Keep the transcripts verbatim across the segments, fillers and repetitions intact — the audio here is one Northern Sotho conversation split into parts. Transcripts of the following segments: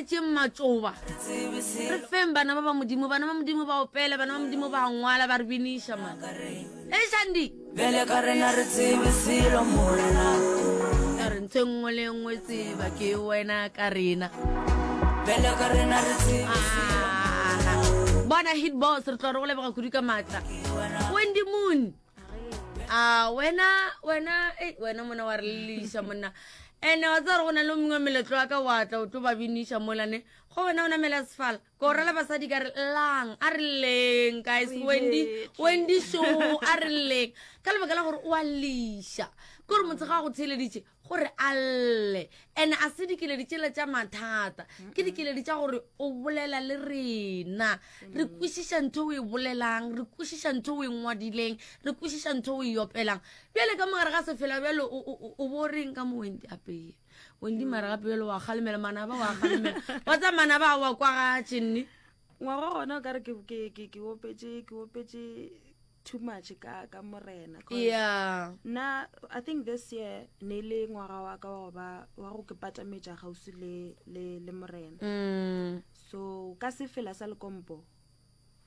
re tšeeng matšoba re feng bana ba ba modimo bana ba modimo ba opela bana ba modimo ba ngwala ba re biniša man e shandi bjale ka rena re tsebe selo morena ka re ntho e nngwe le e nngwe tseba ke wena ka rena bjale ka rena re tsebe Ah, bona hit boss re tlo re go leboga kudu ka maatla wendy moon a wena wena ei, wena mona wa re leliša monna ene wa tsaya gore go na le o mongwe meletlo wa ka wa tla o tlo ba biniša molane go wena o namela sefala ko o rela basadi ka re lang a re lleng guys wendy wendy show a re lleng ka lebaka la gore o a liša ke gore motho ga a go theeleditše gore a lle and a se dikeledi tšela tša mathata ke dikeledi tša gore o bolela le rena re kwešiša ntho o e bolelang re kwešiša ntho o e ngwadileng re kwešiša ntho o e opelang bjale ka mogare ga sefela bjale o- o o- o bo reng ka mo wendy apeye wendy mara gape bjale wa kgalemela manaba wa kgalemela wa tsa manaba a wa kwagatše nne ngwaga gona o kare ke ke ke ke opetse ke opetse too much ka ka morena 'cause yeah nna i think this year ne le ngwaga wa ka wa go ba wa go ke patametša kgauswi le le le morena mm, so ka sefela sa lekompo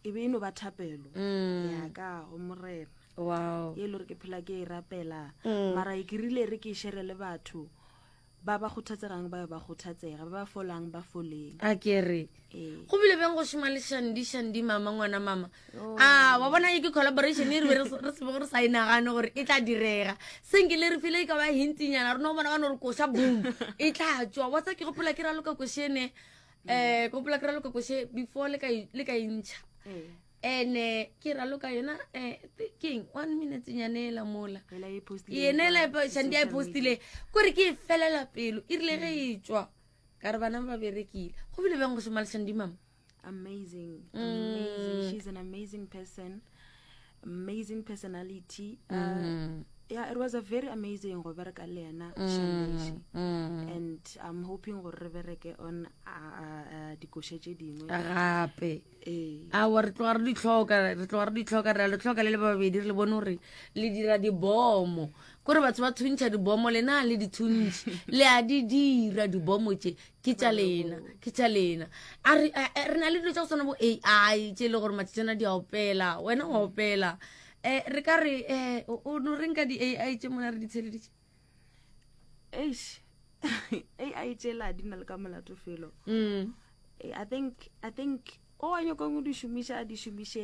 e be e no ba thapelo mm. ya ka go morena wow ye e le gore ke phela ke e rapela Mm. mara ke rile re ke e shere le batho ba ba kgothatsegang ba be ba kgothatsega ba ba folang ba foleng a ke re ee go bile bjang go šoma le shandi shandi mama ngwana mama Oh. a wa bona e ke collaboration e re be re re se bego re sa e nagane gore e tla direga senke le re file e ka ba hintinyana re no bona ba no re koša boom e tla tswa wa tsa ke gopola ke raloka košene um ke gopola ke raloka koše before le ka e- le ka e ntšha ee and-e ke raloka yona um keng one minute nyane ela mola ela e postileng yena kwa ela shandi a e social postile kore ke e felela pelo e rile ge e tswa ka re bana ba berekile go bile bjang go šoma le shandi mama amazing Mm. amazing she's an amazing person amazing personality uh, Mm. yeah it was a very amazing go bereka le yena Shandeshi. Mm. and i'm hoping gore re bereke on uh, uh, uh, dikoša tše dingwe gape ee awa re tloga re di tlhoka re tloga re di tlhoka re a le tlhoka le le babedi re le bone gore le dira dibomo kore batho ba thuntšha dibomo lena le di thuntšhe le a di dira dibomo tše ke tša lena ke tša lena a re a- a- re na le dilo tša go tshwana bo ai tše e le gore matšatšana di a opela wena wa opela um re ka re um o no reng ka di-ai tše mona re di tsheleditše eish ai tšela di na le ka molato felo mm Eh, i think i think o a nyakang go di šomiša a di šomiše